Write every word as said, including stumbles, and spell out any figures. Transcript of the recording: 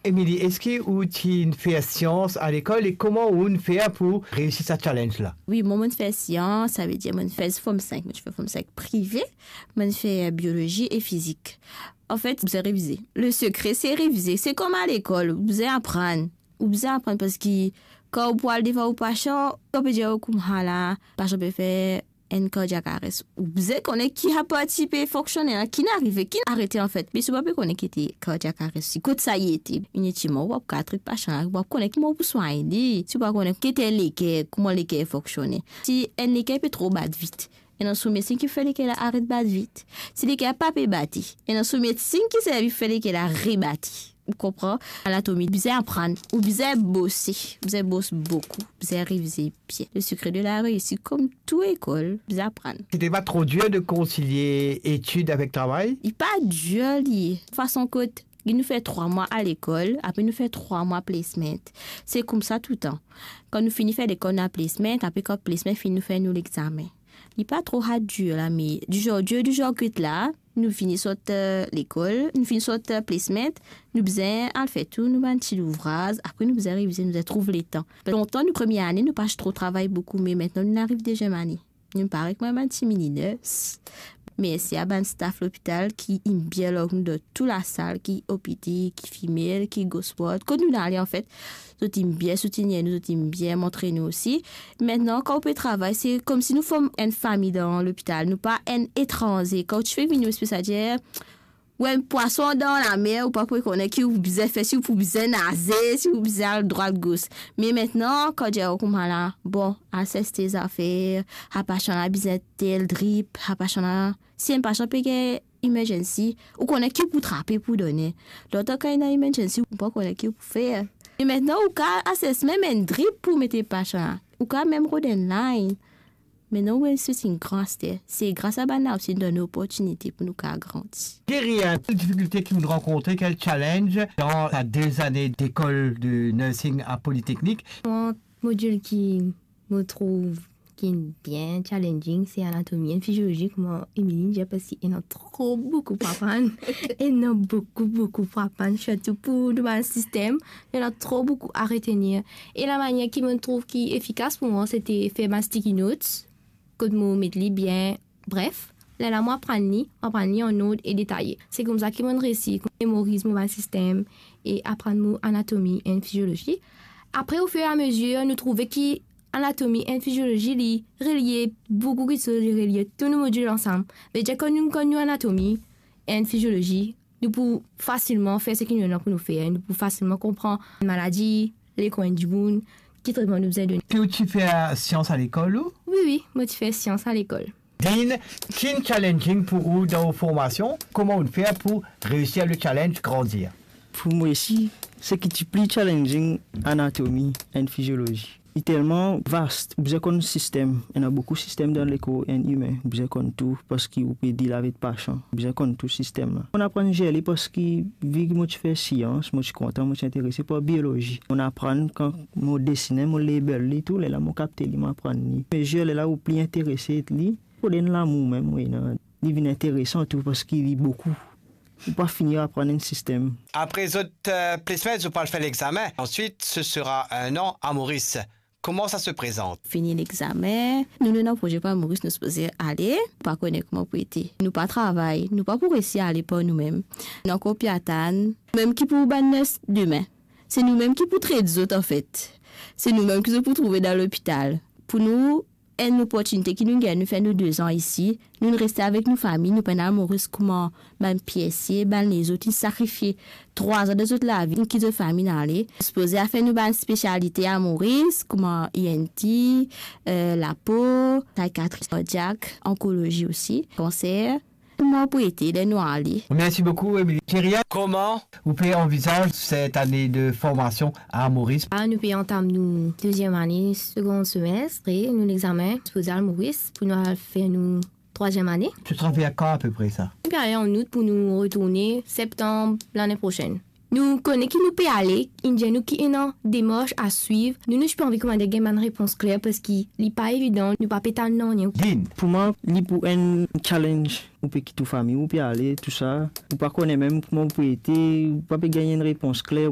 Emily, eski ou ti fer sians alekol e kouma ou fer pou reisi sa challenge la? Wi, mwa, mo'nn fer sians, savedir mo'nn fer Form five, mo'nn fer Form five prive, mo'nn fer biolozi e fizik. Anfet, ou bizin revize. Le sekre, se revize. Se kouma lekol, ou bizin aprann. Ou bizin aprann parski kan ou pou al devan ou pasan, kan pe dir ou koumsa la, pasan pe fer enn cardiac arrest. Ou bizin kone ki sa parti pe fonksione la, ki arive, ki arete anfet. Me si ou pa pe kone ki ete cardiac arrest, si kot sa li ete, inetilman ou pa pou kapav tret pasan la, ou pa pou kone kouma ou pou swagn li. Si ou pa kone ki ete leker, kouma leker fonksione. Si enn leker pe tro bat vit, ena some sign ki fer leker la aret bat vit. Si leker la pa pe bate, ena some sign ki servi fer leker la rebate. Ou konpran? Anatomi, bizin aprann, ou bizin bose, bizin bos boukou, bizin revize bien. Le sekre de la reisi, kom tou lekol, bizin aprann. Sete pa tro dir de konsilie etid avek travay? Li pa dir li. Fason kot nou fer trwa mwa alekol, apre nou fer trwa mwa placement. Se koumsa touletan. Kan nou fini fer lekol, nou al placement, apre kan placement fini, nou fer nou lexame. Li pa tro hard dir la, me di zar dir, di zar get la, nou fini sort, eh, lekol, nou fini sort, eh, placement, nou bizin al fer tou nou bann ti louvraz, apre nou bizin revize, nou bizin trouv letan. Lontan, nou premie ane, nou pa tro travay boukou, me aster nou ariv dezyem ane. Nou parey kouma bann ti mini nurse. Mersi a bann staff lopital ki inn bien lor nou dan tou lasal, ki O P D, ki female, ki gauche ward. Kot nou ale, anfet, zot inn bien soutenir nou, zot inn bien montre nou osi. Aster, kan ou pe travay, se koumsi nou form enn fami dan lopital. Nou pa enn etranze. Kan ou ti fek vinn, ou espes a dir, ou enn pwason dan lamer, ou pa pou kone ki ou bizin fer, si ou pou bizin naze, si ou bizin al drwat gos. Me aster, kan dir ou koumsa la, bon, al sers to zafer, sa pasan la bizin tel drip, sa pasan la, si enn pasan pe gagn emergency, ou kone ki ou pou trape pou done. Lontan kan ena emergency, ou pa kone ki ou pou fer. E aster, ou kav assess mem enn drip pou met pasan la. Ou kav mem rod enn line. Aster, ou enn sweating gran aster. Se gras a bann la osi inn donn nou loportinite pou nou kav grandi. Kerian, kel difikilte ki ou rankontre, kel challenge dan sa de zane lekol de nursing a Politeknik? Mwa, modil ki mo trouv ki bien challenging, se anatomi enn fiziolozi, kouma Emily dir, parski ena tro boukou pou aprann. Ena boukou, boukou pou aprann, sirtou pou nou bann sistem. Ena tro boukou a retenir. E lamanier ki mo trouv ki efikas pou mwa, sete fer bann sticky notes, kot mo met li bien, bref, lerla mo aprann li, mo aprann li an ord e detaye. Se koumsa ki mo reisi memoriz mo bann sistem e aprann mo anatomi enn fiziolozi. Apre, ofirameazir, nou trouve ki anatomi enn fiziolozi, li relie boukou kiksoz, li relie tou nou modil ansam. Vedir, kan nou konn nou anatomi enn fiziolozi, nou pou fasilman fer seki nou ena pou nou fer, nou pou fasilman konpran maladi, lekor enn dimoun, ki tretman nou bizin donn. Ki ou ti fer sians alekol ou? Wi, wi, mo ti fer sians alekol. Dean, ki'nn challenging pou ou dan ou formasion? Kouma ou'nn fer pou reisi le challenge, grandir? Pou mwa osi, seki ti pli challenging, anatomi enn fiziolozi. Li telman vast, ou bizin konn sistem. Ena boukou sistem dan lekor enn imin. Ou bizin konn tou, parski ou pe deal avek pasan. Ou bizin konn tou sistem la. Mo'nn aprann zer li parski, vi ki mo ti fer sians, mo ti kontan, mo ti interese par biolozi. Mo'nn aprann kan mo desine, mo label li tou, lerla mo kapte li, mo aprann li. Me zer lerla ou pli interese li, pou donn lamour mem, wi, non. Li vinn interesan tou parski li boukou. Ou pa fini aprann enn sistem. Apre zot, euh, placement, zot pou al fer lexame. Ensuite, ce sera un an à Maurice. Comment ça se présente? Fini lexame, nou, nou ena proze pou Moris, nou sipoze ale, pa kone kouma pou ete. Nou pa travay, nou pa pou reisi ale par noumem. Nou ankor pe atann, mem ki pou bann nurse demin. Se noumem ki pou tret zot, anfet. Se noumem ki zot pou trouve dan lopital. Pou nou, enn loportinite ki nou gagn, nou fer nou de zan isi, nou reste avek nou fami, nou pena Moris kouma bann P S C, bann lezot, inn sakrifie trwa zan de zot lavi, inn kit zot fami, inn ale. Sipoze al fer nou bann spesialite a Moris, kouma E N T, euh, lapo, psychiatrie cardiaque, oncologie osi, cancer. Kouma pou ete ler nou ale. Merci beaucoup, Emily. Thierry, comment ou pe anvizaz cette année de formation à Maurice? Ah, nou pe antam nou deziem ane, segon semestre, nou lexame, sipoze al Moris pou nou al fer nou trwaziem ane. Tu travailles à quand à peu près ça? Nou pe ale an out pou nou retourne septanm lane prosenn. Nou kone ki nou pe ale, inn dir nou ki ena demars a swiv. Nou, nou ti pe anvi kouma dir gagn bann repons kler, parski li pa evidan, nou pa pe tann nanye. Dean. Pou mwa, li pou enn challenge. Ou pe kit ou fami, ou pe ale, tou sa. Ou pa kone mem kouma ou pou ete, ou pa pe gagn enn repons kler, ou pa